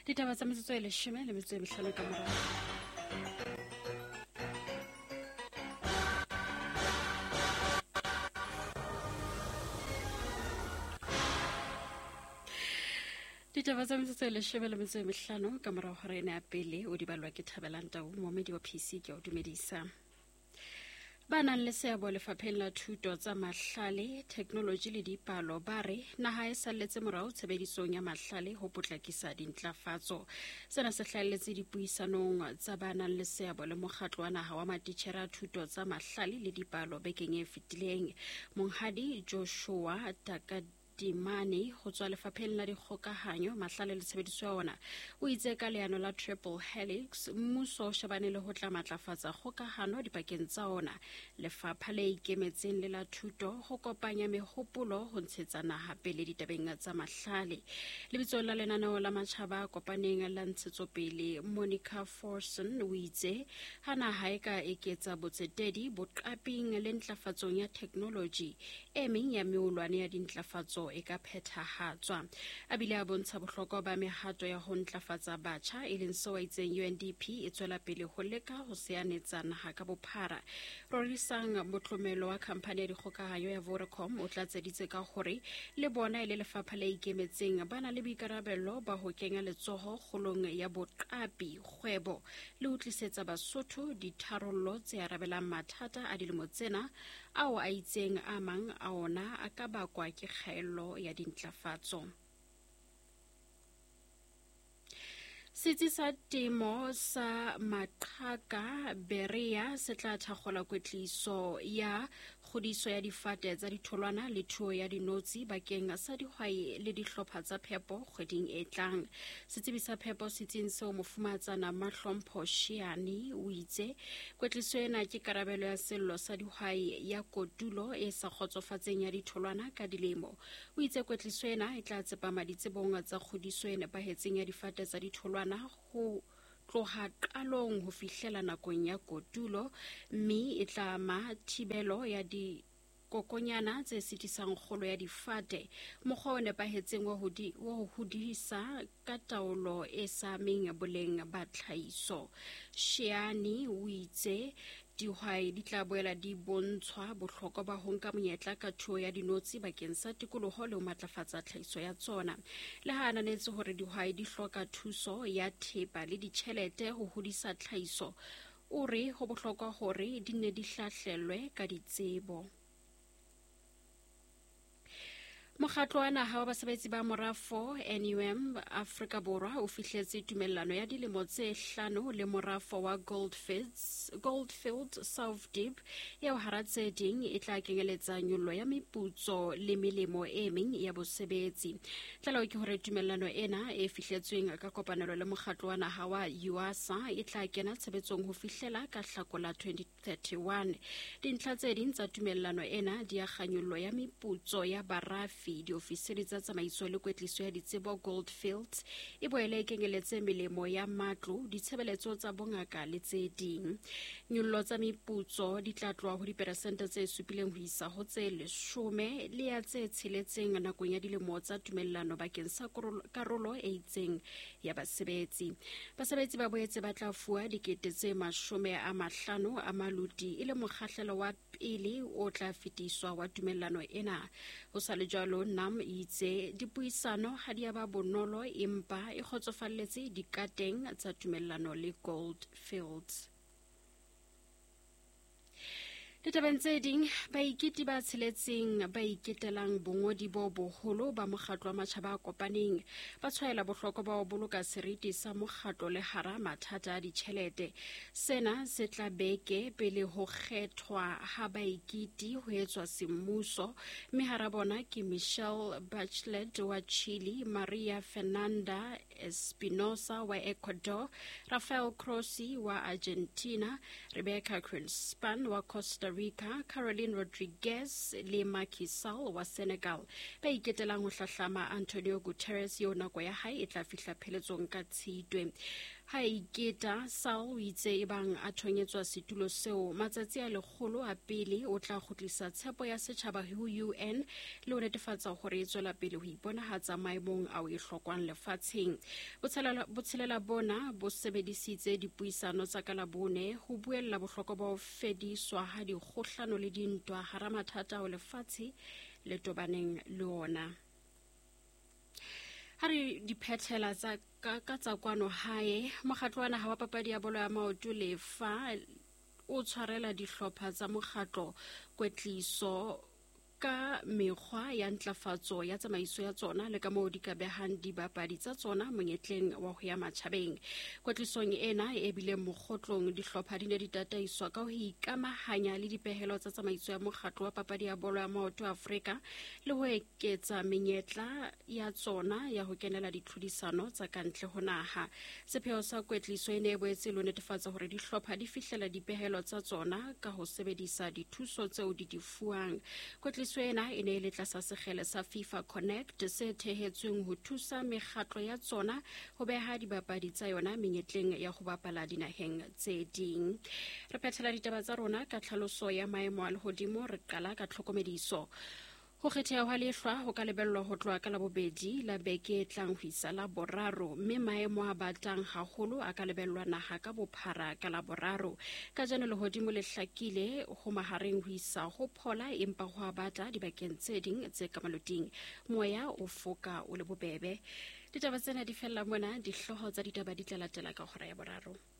Ditaba tsa metsotso e leshome le metso e mehlano ka morao. Ditaba tsa metsotso e leshome le metso e mehlano ka morago gore ene ya pele o di balwa ke Thabelang Tau, momedi wa PC ke o dumedisa. Ba nang le seabo lefapheng la thuto tsa mahlale, theknoloji le dipalo ba re naha e salletse morao tshebedisong ya mahlale ho potlakisa dintlafatso. Sena se hlahelletse dipuisanong tsa ba nang le seabo le mokgatlo wa naha wa matitjhere a thuto tsa mahlale le dipalo bekeng e fetileng. Monghadi Joshua Takadimane ho tswa lefapheng la dikgokahanyo, mahlale le tshebediso ya ona o itse ka leano la Triple Helix, mmuso o shebane le ho tla matlafatsa kgokahano dipakeng tsa ona, lefapha le ikemetseng le la thuto, ho kopanya mehopolo ho ntshetsa naha pele ditabeng tsa mahlale. Lebitsong la lenaneo la matjhaba a kopaneng la ntshetsopele, Monica Forson o itse ha naha e ka eketsa botsetedi boqaping le ntlafatsong ya theknoloji, e meng ya meolwane ya dintlafatso e ka phethahatswa. A bile a bontsha bohlokwa ba mehato ya ho ntlafatsa batjha, e leng seo a itseng UNDP e tswela pele ho leka ho seanetsa naha ka bophara. Rorisang Motlomelo wa khamphani ya dikgokahanyo ya Vodacom o tlatseditse ka hore le bona e le lefapha le ikemetseng ba na le boikarabello ba ho kenya letsoho kgolong ya boqapi, kgwebo le ho tlisetsa Basotho ditharollo tse arabelang mathata a dilemo tsena ao a itseng a mang a ona a ka bakwa ke kgaello ya dintlafatso. Setsi sa temo sa Maqhaka Berea se tla thakgola kwetliso ya kgodiso ya difate tsa ditholwana le thuo ya dinotshi bakeng sa dihwai le dihlopha tsa phepo kgweding e tlang. Setsebi sa phepo setsing seo Mofumatsana Mahlompho Shiane o itse kwetliso ena ke karabelo ya sello sa dihwai ya kotulo e sa kgotsofatseng ya ditholwana ka dilemo. O itse kwetliso ena e tla tsepama ditsebong tsa kgodiso e nepahetseng ya difate tsa ditholwana ho tloha qalong ho fihlela nakong ya kotulo, mme e tla ama thibelo ya dikokonyana tse sitisang kgolo ya difate, mokgwa o nepahetseng wa ho hodisa ka taolo e sa ameng boleng ba tlhahiso. Sheane o itse dihwai di tla boela di bontshwa bohlokwa ba ho nka monyetla ka thuo ya dinotshi bakeng sa tikoloho le ho matlafatsa tlhahiso ya tsona. Le ha ananetse hore dihwai di hloka thuso ya thepa le ditjhelete ho hodisa tlhahiso, o re ho bohlokwa hore di nne di hlahlelwe ka ditsebo. Mokgatlo wa naha wa basebetsi ba morafo NUM Afrika Borwa o fihletse tumellano ya dilemo tse hlano le morafo wa Goldfields South Deep eo hara tse ding e tla kenyeletsa nyollo ya meputso le melemo e meng ya bosebetsi. Tlaleho ke hore tumellano ena e fihletsweng ka kopanelo le mokgatlo wa naha wa UASA e tla kena tshebetsong ho fihlela ka Hlakola 2031. Dintlha tse ding tsa tumellano ena di akga nyollo ya meputso ya barafi, diofisiri tsa tsamaiso le kwetliso ya ditsebo Goldfields e boele e kenyeletse melemo ya matlo, ditshebeletso tsa bongaka le tse ding. Nyollo tsa meputso di tla tloha ho diperesente tse supileng ho isa ho tse leshome le ya tse tsheletseng nakong ya dilemo tsa tumellano bakeng sa karolo e itseng ya basebetsi. Basebetsi ba boetse ba tla fuwa 50,000 a maluti e le mokgahlelo wa pele o tla fetiswa wa tumellano ena. Ho sa le jwalo, NUM e itse dipuisano ha di a ba bonolo empa e kgotsofalletse dikateng tsa tumellano le Gold Fields. Ditabeng tse ding, baiketi ba tsheletseng ba iketelang bongodi bo boholo ba mokgatlo wa matjhaba a kopaneng ba tshwaela bohlokwa ba ho boloka seriti sa mokgatlo le hara mathata a ditjhelete. Sena se tla beke pele ho kgethwa ha baiketi ho etswa semmuso, mme hara bona ke Michelle Bachelet wa Chile, Maria Fernanda Espinosa wa Ecuador, Rafael Grossi wa Argentina, Rebecca Grynspan wa Costa Costa Rica, Caroline Rodriguez le Macky Sall wa Senegal, ba iketelang ho hlahlama Antonio Guterres eo nako ya hae e tla fihla pheletsong ka Tshitwe. Ha iketa, Sall o itse ebang a thonyetswa setulo seo matsatsi a lekgolo a pele o tla kgutlisa tshepo ya setjhaba ho UN le ho netefatsa hore e tswela pele ho iponahatsa maemong ao e hlokwang lefatsheng. Botshelela bona bo sebedisitse dipuisano tsa ka Labone ho buella bohlokwa ba ho fediswa ha dikgohlano le dintwa hara mathata ao lefatshe le tobaneng le ona. Ha re diphethela tsa ka tsa kwano hae, mokgatlo wa naha wa papadi ya bolo ya maoto lefa o tshwarela dihlopha tsa mokgatlo kwetliso ka mekgwa ya ntlafatso ya tsamaiso ya tsona le ka moo di ka behang dibapadi tsa tsona monyetleng wa ho ya matjhabeng. Kwetlisong ena e bileng mokgotlong, dihlopha di ne di tataiswa ka ho ikamahanya le dipehelo tsa tsamaiso ya mokgatlo wa papadi ya bolo ya maoto Afrika le ho eketsa menyetla ya tsona ya ho kenela ditlhodisano tsa kantle ho naha. Sepheo sa kwetliso e ne e boetse le ho netefatsa hore dihlopha di fihlela dipehelo tsa tsona ka ho sebedisa dithuso tseo di di fuwang. Kwetliso ena e ne e le tlasa sekgele sa FIFA Connect se thehetsweng ho thusa mekgatlo ya tsona ho beha dibapadi tsa yona menyetleng ya ho bapala dinaheng tse ding. Re phethela ditaba tsa rona ka tlhaloso ya maemo a lehodimo, re qala ka tlhokomediso. Ho kgetheha hwa lehlwa ho ka lebellwa ho tloha ka Labobedi la beke e tlang ho isa la Boraro, mme maemo a batang haholo a ka lebellwa naha ka bophara ka Laboraro. Kajeno lehodimo le hlakile ho mahareng ho isa ho phola, empa ho a bata dibakeng tse ding tse ka maloting. Moya o foka o le bobebe. Ditaba tsena di fella mona, dihlooho tsa ditaba di tla latela ka hora ya boraro.